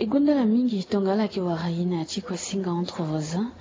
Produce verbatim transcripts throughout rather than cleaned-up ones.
E gonda ala mingi tongana ala yeke wara e na ya ti kuasinga entre voisins.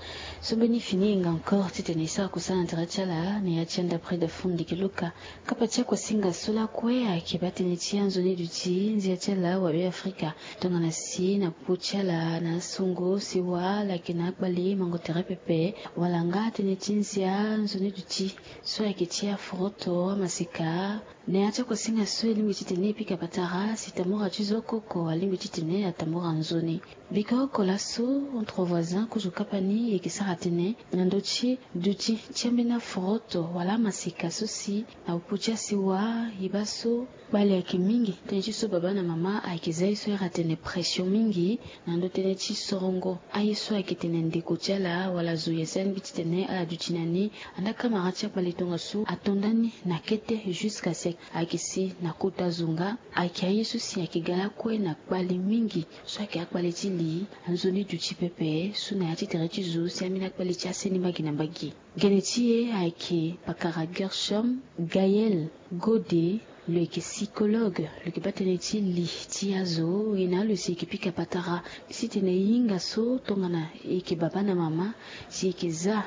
So mbeni fini e nga encore titene e sara kusala na tere ti ala na ya ti anda près de fond ndeke luka. Kapa ti akuasinga so lakue ayeke baa tënë ti anzoni duti nzia ti ala wabe Afrika. Tongana si na popo ti ala na asongo sewa ala yeke na akpale mango tere pepe wala nga tënë ti nzia nzoni duti so ayeke ti aforoto amaseka. Na ya ti akuasinga so e lingbi titene e pika patara si tambura ti zo koko alingbi titene atambura nzoni. Bika oko laso entre voisins kozo kapa ni e yeke sara tënë na ndö ti duti ti ambeni aforoto wala amaseka so si na popo ti asewa e baa so kpale ayeke mingi. Tënë ti so baba na mama ayeke za ye so ahiri atene pression mingi na ndö tënë ti sorongo aye so ayeke tene ndeko ti ala wala zo ye so alingbi titene ala duti na ni. Anda kamara ti akpale tongaso ato ndani na kete jusqu'à si ayeke si na kota zo nga. Ayeke aye so si ayeke ga lakue na kpale mingi so ayeke akpale ti li anzoni duti pepe so na ya ti tere ti zo si ambeni akpale ti aseni mbage na mbage. Gene ti e ayeke pakara Gershom Gaël Gode. Lo yeke psychologue, lo yeke baa tënë ti li ti azo. E na lo si e yeke pika patara si tene e hinga so tongana e yeke baba na mama si e yeke za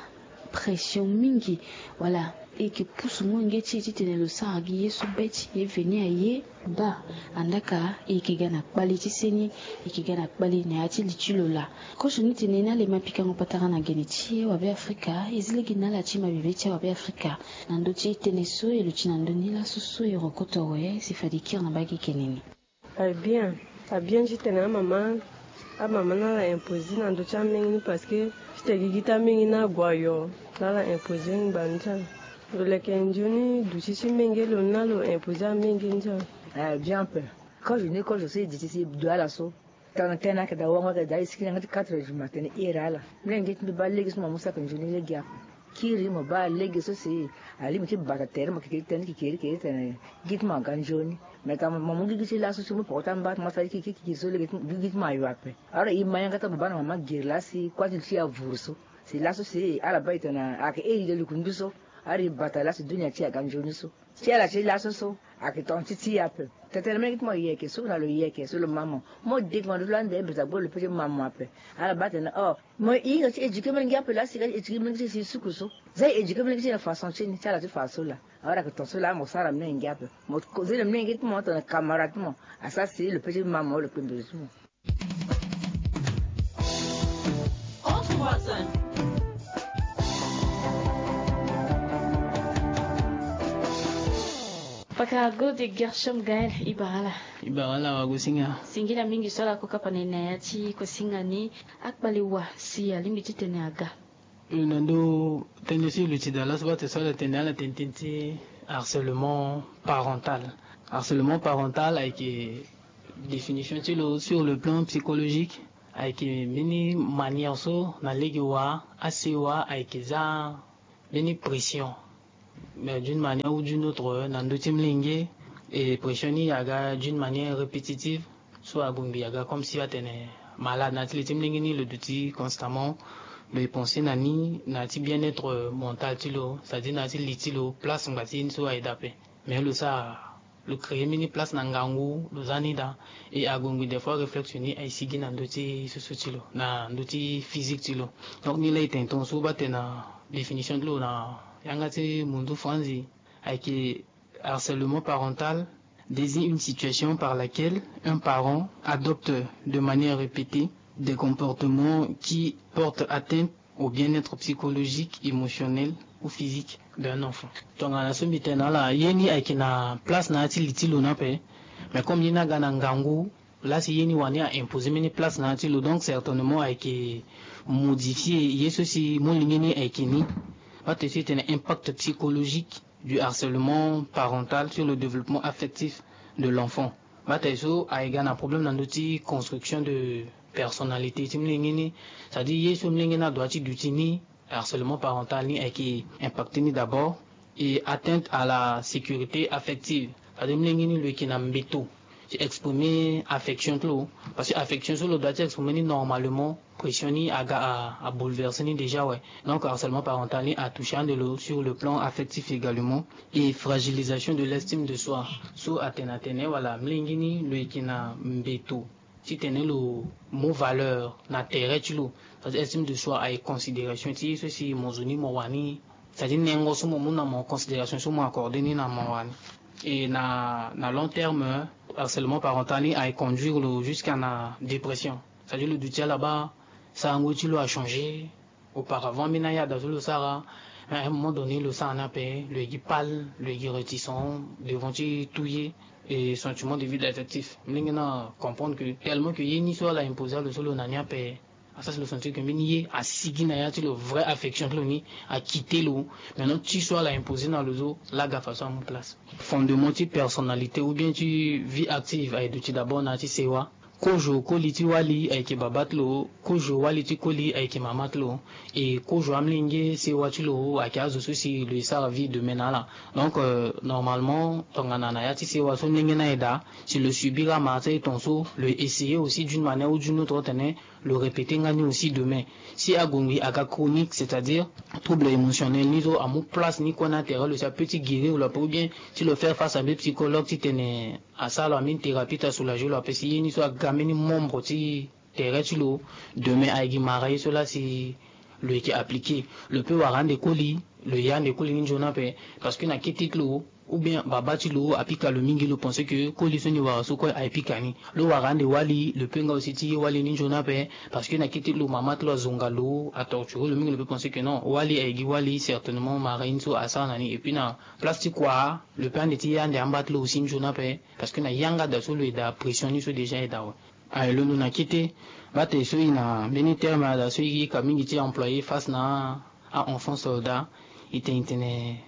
pression mingi wala e yeke pusu molenge ti e titene lo sara gi ye so be ti e veni aye. Baa andaka e yeke ga na kpale ti seni, e yeke ga na kpale na ya ti li ti lo laa. Kozo ni tene na lema pikango patara na gene ti e wabe Afrika, e zi lege na ala ti mabe be ti awabe Afrika na ndö ti tënë so e luti na ndö ni laso so e rokoto awe si fade e kiri na mbage gene ni. Abien, abien titene amama, amama na ala imposer na ndö ti amenge ni parce que titene gigi ti amenge ni ague ayo na ala imposer ngbanga ni ti ala. Lo leke nzoni duti ti menge lo ni na lo imposer amenge ni ti ala. Abien ape. Kozo ni kozo so e duti si e du ala so. Tongana tënë ayeke daa wango ayeke daa e siki na yanga ti quatre heures du matin ni iri ala. Mbi na ngia ti mbi baa lege so mo mu saki nzoni lege ape. Kiri mo baa lege so si alingbi ti bata tere mo kekeri tënë kekeri kekeri tene gigi ti mo aga nzoni. Mais tongana mo mu gigi ti laso ti mu poko ti amba ti mo asara ti kiki kiki so lege ti gigi ti mo ayo ape. Alors e ma yanga ti ababa na mama gere laa si kuâ ti li ti e avuru so. Si laso si ala baa e tene ayeke iri de lukundu so. Alors e bata laa si dunia ti e aga nzoni so. Ti ala ti laso so ayeke tonga ti ti e ape. Tene tene menge ti mo yeke so na lo yeke so lo ma mo. Mo de tongana lo ti lo ande beta gbo lo pe ti ma mo ape. Ala baa tene oh mo e hinga ti éduquer menge ape laa si ga ti éduquer menge ti e si suku so. Za e éduquer menge ti e na façon ti ni ti ala ti fa so laa. Awara ayeke ton so laa mo sara menge ape. Mo kozoni menge ti mo tongana camarade ti mo. Asara si lo pe ti ma mo lo kpembere ti mo. Entre voisins. Pakara Gode Gershom Gaël, e bara ala. E bara ala wagosinga. Singila mingi so ala ko kapa na e na ya ti kosinga ni. Akpale wa si alingbi titene aga. Na ndo tënë so e luti daa laso baa tene so ala tene ala tene tënë ti harcèlement parental. Harcèlement parental ayeke définition ti lo sur le plan psychologique, ayeke mbeni manière so na lege wa asewa ayeke za mbeni pression, mais d'une manière ou d'une autre na ndö ti molenge. Et pression ni aga d'une manière répétitive. So ague ngbi aga comme si atene malade na ya ti li ti molenge ni, lo duti constamment, lo e pensé na ni na ya ti bien-être mental ti lo, c'est-à-dire na ya ti li ti lo, place ngba ti ye ni so aye daa ape. Mais lo sara lo créer mbeni place na ngangu lo za ni daa. Et ague ngbi des fois réflexe ni aye sigi na ndö ti susu ti lo, na ndö ti physique ti lo. Donc ni laa e tene tongaso baa tene na définition ti lo na yanga ti mundu franzi, ayeke harcèlement parental désigne une situation par laquelle un parent adopte de manière répétée des comportements qui portent atteinte au bien-être psychologique, émotionnel ou physique d'un enfant. Tongana so mbi tene na ala, ye ni ayeke na place na ya ti li ti lo ni ape. Mais comme ye ni aga na ngangu, laa si ye ni wani a imposer mbeni place na ya ti lo, donc certainement ayeke modifier ye so si molenge ni ayeke ni. Baa tene so e tene impact psychologique du harcèlement parental sur le développement affectif de l'enfant. Baa tene so aye ga na problème na ndö ti construction de personnalité ti molenge ni. C'est-à-dire ye so molenge ni adoit ti duti ni, harcèlement parental ni ayeke impacter ni d'abord. Et atteinte à la sécurité affective, c'est-à-dire molenge ni lo yeke na mbeto ti exprimer affection ti lo. Parce que affection so lo doit ti exprimer ni normalement, pression ni aga a, a bouleverser ni déjà, ouais. Donc harcèlement parental ni atoucher ande lo sur le plan affectif également. Et fragilisation de l'estime de soi. So atene atene wala molenge ni lo yeke na mbeto Titene lo mu valeur na tere ti lo, c'est-à-dire estime de soi aye considération ti ye so si mo zo ni mo wani, c'est-à-dire nengo so mo mu na mo, considération so mo accorde ni na mo wani. Et na, na long terme, harcèlement parental ni aye conduire lo jusqu'à na dépression. C'est-à-dire lo duti ala baa sarango ti lo achangé. Auparavant, ambeni aya da so lo sara, à un moment donné lo sara ni ape, lo ye gi pâle, lo ye gi réticent devant ti tout ye. Et sentiment de vide affectif, molenge ni acomprendre que tellement que ye ni so ala imposer lo so lo na ni ape, asara si lo sentir que mbeni ye asigi na ya ti lo, vraie affection ti lo ni akite lo. Maintenant ti so ala imposer na lo so, la ga façon amu place. Fondement ti personnalité ou bien ti vie active aye duti d'abord na ya ti sewa. Kozo koli ti wali ayeke baba ti lo, kozo wali ti koli ayeke mama ti lo. E kozo amolenge sewa ti lo ayeke azo so si lo ye sara vie de demain na ala. Donc, euh, normalement tongana na ya ti sewa so molenge ni aye daa, si lo subir amara ti aye tongaso, lo ye essayer aussi d'une manière ou d'une autre titene lo répéter nga ni aussi demain. Si ague ngbii aga chronique, c'est-à-dire trouble émotionnel ni so amu place ni kue na tere lo, si apeut ti guérir lo ape ou bien ti lo faire face à mbeni psychologue titene asara lo ambeni thérapie ti asoulager lo ape si ye ni so aga mbeni membre ti tere ti lo, demain aye gi mara ye so laa si lo yeke appliquer. Lo peut wara ande koli, lo ye ande koli ni nzoni ape. Parce que na kete ti lo ou bien baba ti lo apika lo mingi, lo pense que koli so ni wara so kue aye pika ni. Lo wara ande wali, lo peut nga aussi ti ye wali ni nzoni ape. Parce que na kete ti lo mama ti lo azonga lo, atorture lo mingi, lo peut pense que non, wali aye gi wali, certainement mara ye ni so asara na ni. Et puis na place ti kua, lo peut ande ti ye ande amba ti lo aussi nzoni ape. Parce que na yanga da so lo ye daa, pression ni so déjà e daa awe. Aye londo na kete, bate so e na mbeni terme ada so e yika mingi ti employer face na a-enfant soldat, e tene e tene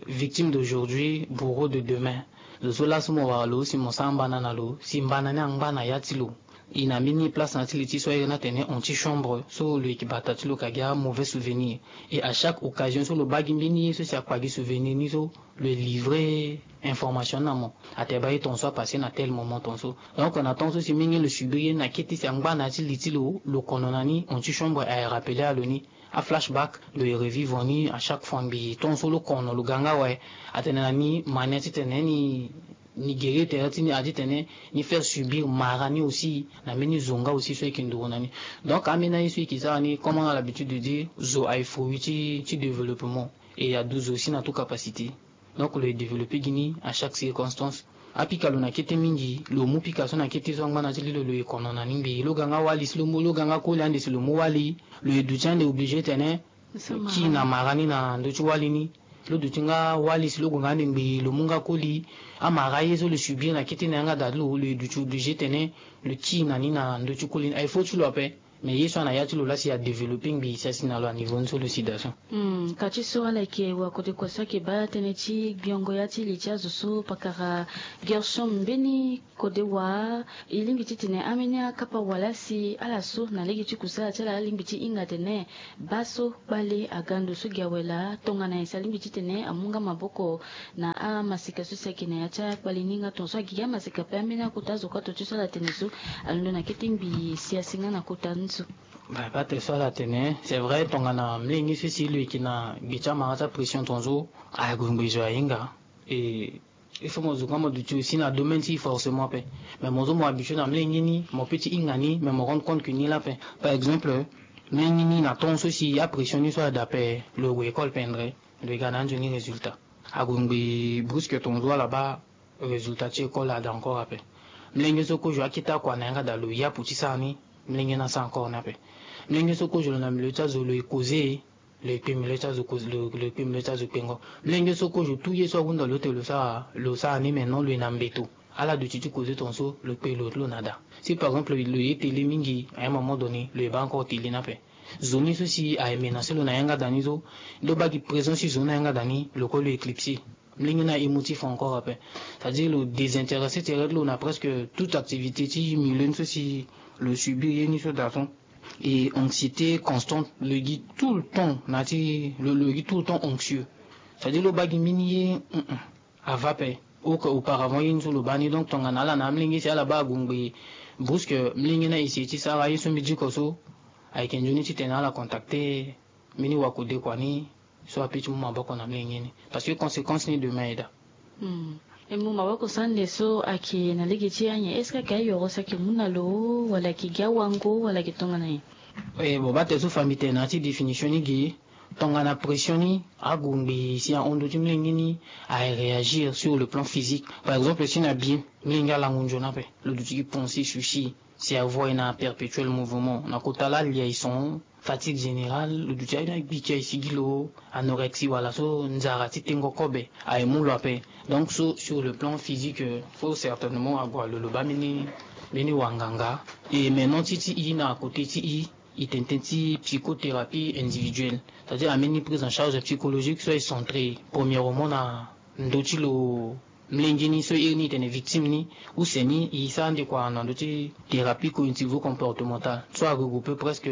victime d'aujourd'hui, bourreau de demain. Zo so laso mo wara lo si mo sara mbana na lo, si mbana ni angba na ya ti lo. E na mbeni place na ya ti li ti so aye na tene antichambre so lo yeke bata ti lo ka gi a-mauvais souvenir. Et à chaque occasion so lo baa gi mbeni ye so si akpa gi souvenir ni so, lo ye livrer information ni na mo. Atene baa ye tongaso apasser na tel moment tongaso. Donc na temps so si mingi lo subir ye ni na kete si angba na ya ti li ti lo, lo kono na ni, antichambre aye rappeler a lo ni. A-flashback lo ye revivre ni à chaque fois ngbii. Tongaso lo kono, lo ga nga awe. Atene na ni mania titene ni, ni guérir tere ti ni, a titene ni faire subir mara ni aussi na mbeni zo nga aussi so e yeke nduru na ni. Donc ambeni aye so e yeke sara ni, comme on a l'habitude de dire, zo aye fruit ti, ti développement. Et adu zo aussi na tout capacité. Donc lo ye développer gi ni à chaque circonstance. Apika lo na kete mingi, lo mu pika so na kete so angba na ti li lo, lo ye kono na ni ngbii. Lo ga nga wali si lo mu, lo ga nga koli ande si lo mu wali, lo ye duti ande obligé tene lo kii na mara ni na ndö ti wali ni. Lo duti nga wali si lo gue nga ande ngbii, lo mu nga koli, amara aye so lo subir na kete na yanga da ti lo, lo ye duti obligé tene lo kii na ni na ndö ti koli ni. Aye fo ti lo ape. Mais ye so ana ya ti lo laa si adévelopper ngbii si asi na lo aniveau ni so lo si daa so. Hmm, ka ti so ala yeke wa kode kua so ayeke baa tënë ti gbiongo ya ti li ti azo so pakara Gershom mbeni kode wa. E lingbi titene ambeni akapa wala si ala so na lege ti kusala ti ala alingbi ti hinga atene baa so kpale aga ndo so gi awe laa tongana nyen si alingbi titene amu nga maboko na amaseka so si ayeke na ya ti akpale ni nga tongaso agigi amaseka ape ambeni akota azo kue ato ti so ala tene so alondo na kete ngbii si asi nga na kota ni so. Bah, bate so ala tene c'est vrai tongana molenge so si lo yeke na gbe ti amara ti apression tongaso ague ngbii zo ahinga. Et il faut mo zo nga mo duti aussi na domaine ti forcément ape. Mais mo zo mo habitué na molenge ni, mo peut ti hinga ni, mais mo rendre compte que ni laa ape. Par exemple molenge ni na temps so si apression ni so ada ape, lo gue école pendre, lo ye ga na anzoni résultat. Ague ngbii brusque tongaso ala baa résultat ti école ada encore ape. Molenge so kozo akete akua na yanga da lo yapu ti sara ni, molenge ni asara encore ni ape. Molenge so kozo lo na milieu ti azo lo ye causer, lo ye kpe milieu ti azo cause, lo, lo ye kpe milieu ti azo kpengo. Molenge so kozo tout ye so ahunda lo ete lo sara, lo sara ni, mais non lo ye na mbeto. Ala duti ti causer tongaso lo kpe lo ti lo na da. Si par exemple lo ye télé mingi, à un moment donné lo ye baa encore télé ni ape. Zo ni so si aye menacer lo na yanga da ni so, lo baa gi présence ti zo ni na yanga da ni, lo kue lo éclipsé. Molenge ni a émotif encore ape. C'est-à-dire lo désintéresser tere ti lo na presque toute activité ti milieu ni so si lo subir ye ni so daa so. Et anxiété constante, lo gi tout le temps na ti lo, lo gi tout le temps anxieux. C'est-à-dire lo baa gi mbeni ye, mm, mm, ava ape. Au, auparavant ye ni so lo baa ni. Donc tongana ala na amolenge si ala baa ague ngbii brusque, molenge ni a essayer ti sara ye so mbi diko so, ayeke nzoni titene ala contacter mbeni wakode kua ni so apeut ti mu maboko na molenge ni. Parce que conséquence ni demain e daa. Hmm. E mu maboko sande so ayeke na lege ti anyen, est-ce que ayeke ayoro so ayeke mu na lo, wala ayeke gi awango, wala ayeke tongana nyen? E bon, baa tene so fa mbi tene na ya ti définition ni ge, tongana pression ni ague ngbii si ahon ndö ti molenge ni, aye réagir sur le plan physique. Par exemple, si na bi molenge alango nzoni ape, lo duti gi pensée, souci, si avoie na perpétuel mouvement, na kota laa alia e son, fatigue générale, lo duti aye ni agbi ti aye sigi lo, anorexie wala so nzara ti tengo kobe aye mu lo ape. Donc so sur le plan physique, euh, faut certainement ague alo lo baa mbeni, mbeni wanganga. Et maintenant ti ti i na côté ti i, i tene tënë ti psychothérapie individuelle. C'est-à-dire ambeni prise en charge psychologique so aye centré premièrement na ndö ti lo, molenge ni so iri ni e tene victime ni, use ni e sara ande kua na ndö ti thérapie cognitivo-comportementale so aregroupe presque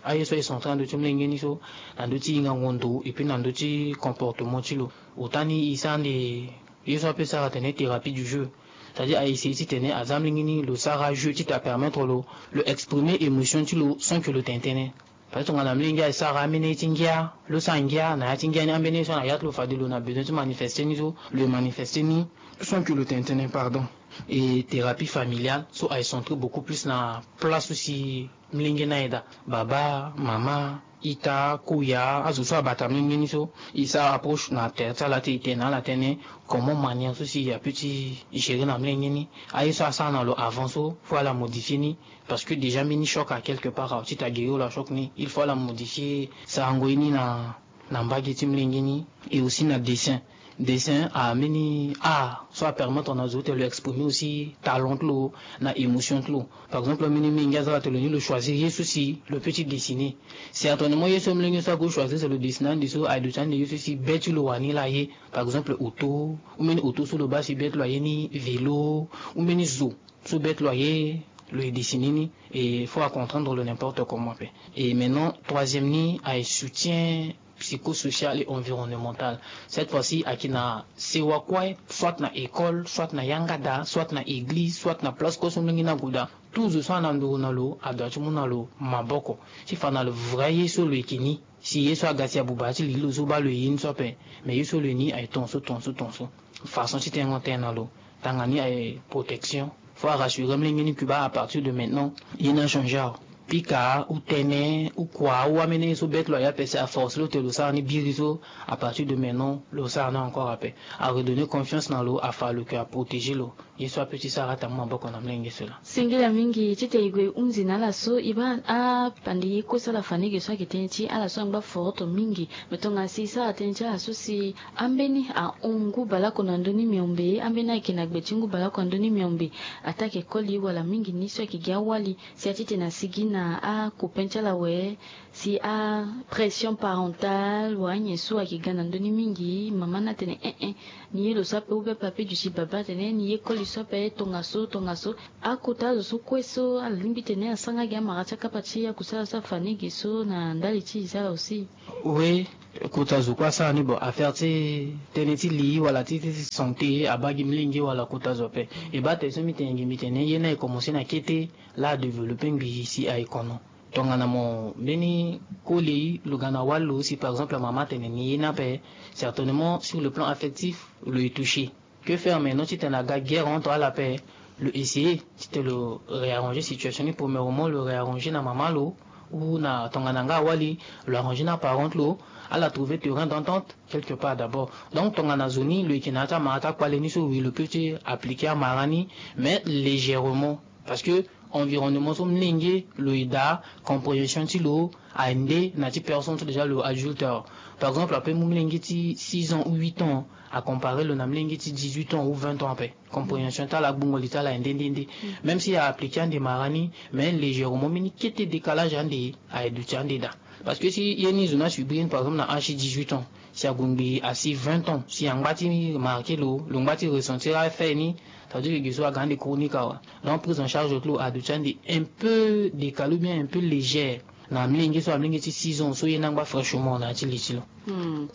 aye so aye centré na ndö ti molenge ni so, na ndö ti hingango ndo et puis na ndö ti comportement ti lo. Ota ni e sara ande ye so ape sara atene thérapie du jeu. C'est-à-dire a essayer ti tene aza molenge ni lo sara jeu ti ta permettre lo, lo exprimer émotion ti lo sans que lo tene tënë. Parce que tongana molenge aye sara ambeni ye ti ngia, lo sara ngia na ya ti ngia ni, ambeni ye so na ya ti lo fade lo na besoin ti manifester ni so, lo ye manifester ni sans que lo tene tënë, pardon. Et thérapie familiale so aye centré beaucoup plus na place so si molenge ni aye daa, baba, mama, ita, koya, azo so abata molenge ni so, e sara approche na tere ti ala ti e tene na ala tënë comment manière so si apeut ti gérer na molenge ni. Aye so asara na lo avant so, faut ala modifier ni. Parce que déjà mbeni choc à quelque part, awe ti ta guérir lo achoc ni, il faut ala modifier sarango ye ni na, na mbage ti molenge ni. Et aussi na dessin. Dessin ambeni art so apermettre na zo ti lo exprimer aussi talent ti lo na émotion ti lo. Par exemple ambeni molenge aza la ti lo ni lo choisir ye so si lo peut ti dessiner. Certainement ye so molenge so ague choisir si lo dessiner ande so aye duti ande ye so si be ti lo wani laa ye. Par exemple auto, ou mbeni auto so lo baa si be ti lo aye ni, vélo, ou mbeni zo so be ti lo aye, lo ye dessiner ni. Et faut acomprendre lo n'importe comment ape. Et maintenant troisième ni aye soutien psychosocial et environnemental. Cette fois-ci ayeke na sewa kue, soit na école, soit na yanga daa, soit na église, soit na place kue so molenge ni ague daa. Tout zo so ana nduru na lo adoit ti mu na lo maboko ti fa na lo vrai ye so lo yeke ni. Si ye so aga si abuba ti li lo so baa lo ye ye ni so ape. Mais ye so lo ye ni aye tongaso, tongaso, tongaso. Façon ti tengo tënë na lo. Tanga ni aye protection. Faut arassurer molenge ni que baa à partir de maintenant ye ni achangé awe. Pika ou tene ou kua ou ambeni ye so be ti lo aye ape si aforce lo ti lo sara ni biri so, à partir de maintenant lo sara ni encore ape. Aredonner confiance na lo, afa lo que aprotéger lo. Ye so apeut ti sara ata mu maboko na molenge so laa. Singila mingi titene e gue hunzi na ala so e baa apandi ye kue so ala fa ni ge so ayeke tënë ti ala so angba forte mingi. Me tongana si e sara tënë ti ala so si ambeni ahon ngu baleoko na ndö ni miombe, ambeni ayeke na gbe ti ngu baleoko na ndö ni miombe, ataa ayeke koli wala mingi ni so ayeke gi awali, si atitene asigi na acopain ti ala awe, si apression parentale wala anyen so ayeke ga na ndö ni mingi, mama ni atene eh eh, ni ye lo so ape, ou bien papi duti baba atene ni ye koli so ape tongaso, tongaso. Akota azo so kue so ala lingbi tene asara nga gi amara ti akapa ti akusala so afa ni ge so na ndali ti e sara aussi. Oui, kota zo kue asara ni. Bon, affaire ti tënë ti li wala ti, ti santé abaa gi molenge wala kota zo ape. E baa tene so mbi tene gi mbi tene ye ni aye commencer na kete, laa adévelopper ngbii si aye kono. Tongana mo mbeni koli lo ga na wali lo si par exemple mama atene ni ye ni ape, certainement sur le plan affectif lo ye toucher. Que faire maintenant titene aga guerre entre ala ape? Lo essayer titene lo réarranger situation ni. Premièrement lo réarranger na mama lo, ou na tongana nga awali, lo arranger na parent ti lo, ala trouver terrain d'entente quelque part d'abord. Donc tongana zo ni lo yeke na ya ti amara ti akpale ni so, oui lo peut ti appliquer amara ni, mais légèrement. Parce que environnement so molenge lo ye daa, compréhension ti lo aye nde na ti personne so déjà lo adulte awe. Par exemple apeut mu molenge ti six ans ou huit ans, acomparer lo na molenge ti dix-huit ans ou vingt ans ape. Compréhension ti ala, agbungo li ti ala aye nde nde nde. Même si a appliquer ande mara ni, mais légèrement, mbeni kete décalage ande aye duti ande daa. Parce que si ye ni zo ni asubir ni par exemple na âge ti dix-huit ans, si ague ngbii asi vingt ans, si angba ti marquer lo, lo ngba ti ressentir affaire ni, ça veut dire que ge so aga ande chronique awe. Donc prise en charge ti lo aduti ande un peu décalé ou bien un peu légère na amolenge so, amolenge ti six ans so ye ni angba fraîchement na ya ti li ti lo.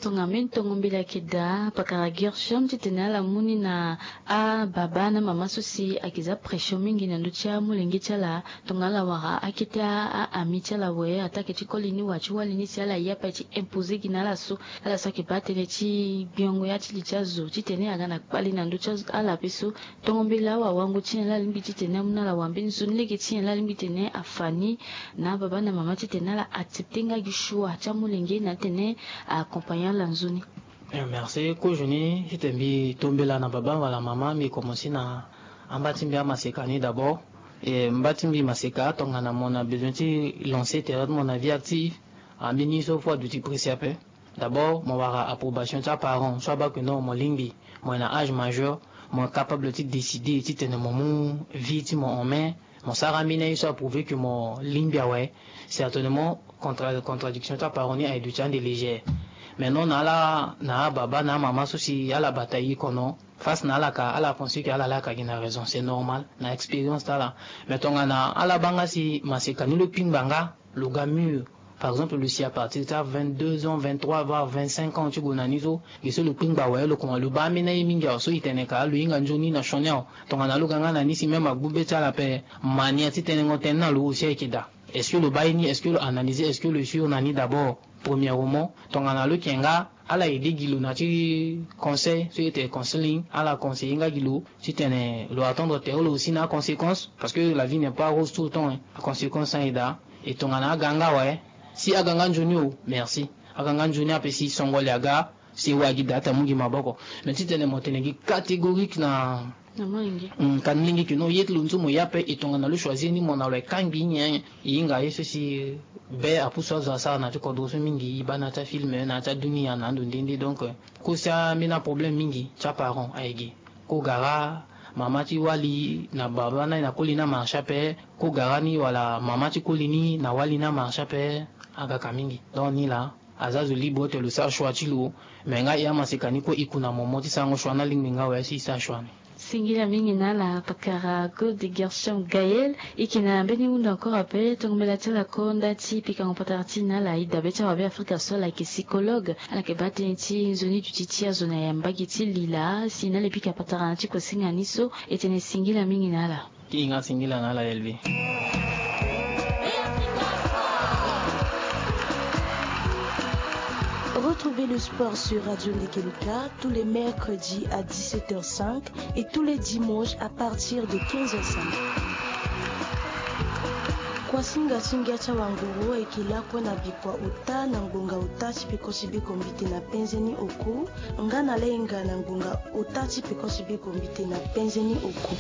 Tongana mbeni tongo mbela ayeke daa, pakara Gershom titene ala mu ni na ababa na mama so si ayeke za pression mingi na ndö ti amolenge ti ala. Tongana ala wara akete a-ami ti ala awe, attaque ti koli ni wa ti wali ni si ala ye ape ti imposer gi na ala so, ala so ayeke baa tënë ti gbiongo ya ti li ti azo titene aga na kpali na ndö ti azo, ala ape so. Tongo mbela awawango ti nyen la alingbi titene amu na ala? Wa mbeni nzoni lege ti nyen la alingbi titene afa ni na ababa na mama titene ala accepter nga gi choix ti amolenge na atene a accompagner ala nzoni? Eh, merci. Kozo ni titene mbi to mbela na baba wala mama, mbi commencer na amba ti mbi amaseka ni d'abord. Eh, mba ti mbi maseka tongana mo na besoin ti lancer tere ti mo na vie active, ambeni so fo aduti pressé ape. D'abord mo wara approbation ti aparent so abaa que non mo lingbi, mo yeke na âge majeur, mo capable ti décider titene mo mu vie ti mo en main. Mo sara ambeni aye so aprouver que mo lingbi awe. Certainement contra-, contradiction ti aparent ni aye duti ande légère. Mais non, na ala, na ababa na amama so si ala bata e kono, face na ala ka, ala pense que ala laa ka gi na raison, c'est normal, na expérience ti ala. Mais tongana ala baa nga si maseka ni lo kpingba nga, lo ga mûr. Par exemple lo si à partir ti a vingt-deux ans, vingt-trois voire vingt-cinq ans ti gue na ni so, ge so lo kpingba awe, lo koma lo baa ambeni aye mingi awe so e tene ka lo hinga nzoni na sioni awe. Tongana lo ga nga na ni si même agbu be ti ala ape, mania ti tenengo tënë na lo aussi ayeke daa. Est-ce que lo baa ye ni? Est-ce que lo analyser? Est-ce que lo sûr na ni d'abord? Premièrement, tongana lo yeke nga, ala aider gi lo na ti conseil so e tene counseling, ala conseiller nga gi lo titene lo attendre tere lo aussi na aconséquence, parce que la vie n'est pas rose tout le temps, hein. Aconséquence aye daa. E tongana aga nga awe, si aga nga nzoni o, merci. Aga nga nzoni ape si songo li aga, si e wara gi daa ti amu gi maboko. Mais titene mo tene gi catégorique na, na molenge, mm, ka ni lenge ke non, ye ti lo nzu mo ye ape. E tongana lo choisir ni mo na lo, e kangbi nyen? E hinga ye so si be apusu azo asara na ti kodro so mingi, baa na ti afilm, na ti adunia, na ando nde nde. Donc, eh, kosa ambeni aproblème mingi ti aparent aye ge. Kogara mama ti wali na baba na, na koli ni amarché ape. Kogara ni wala mama ti koli ni na wali ni amarché ape. Aga ka mingi. Donc ni laa, aza zo libre ti lo sara choix ti lo. Mais nga e amaseka ni kue e ku na momo ti sarango choix ni alingbi nga awe si e sara choix ni. Singila mingi na ala pakara Gold Gershom Gaël. E yeke na mbeni hundu encore ape, tongo mbela ti ala ko nda ti pikango patara ti e na ala. E dabe ti awabe Afrika so ala yeke psychologue. Ala yeke baa tënë ti nzoni duti ti azo na ya mbage ti lila. Si e na ala e pika patara na ti kosinga ni so, e tene singila mingi na ala. Ti hinga singila na ala Elvi. Retrouvez le sport sur Radio Ndekeluka tous les mercredis à dix-sept heures cinq et tous les dimanches à partir de quinze heures cinq. Kuasinga singia ti awanguru ayeke lakue na bikua ota na ngbonga ota ti peko ti biko mbite na penze ni oku, nga na lahinga na ngbonga ota ti peko ti biko mbite na penze ni oku.